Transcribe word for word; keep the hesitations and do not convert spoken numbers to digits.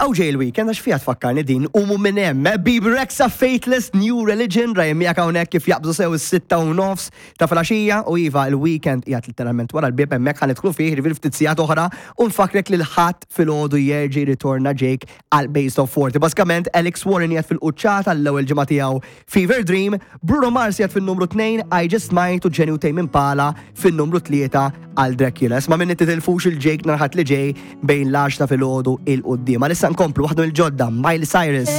Hawn ġej il-weekend għax fija tfakkarni din umu minn hemm. Bebe Rexha, Faithless, New Religion, Ryan miegħek hawnhekk kif jaqbżu sew is-sitta u nofs ta' filgħaxija u iva, il-weekend qiegħed literalment wara l-bieb hemmhekk, ħa nidħlu fih, jiġifieri ftit sigħat oħra, u nfakrek li l-Ħadd filgħodu jerġa' ritorna Jake għal Base of forty. Bażikament Alex Warren qiegħed fil-quċċata l-ewwel ġimgħa tiegħu, Fever Dream, Bruno Mars qiegħed fin-numru tnejn, I Just Might, u Jenny u Tame Impala fin-numru tlieta għal Dracula. Isma' minni, titilfux il-Jake nhar Ħadd li ġej bejn l-għaxra filgħodu 'l quddiem. Issa nkomplu waħdu il-ġodda, Miley Cyrus.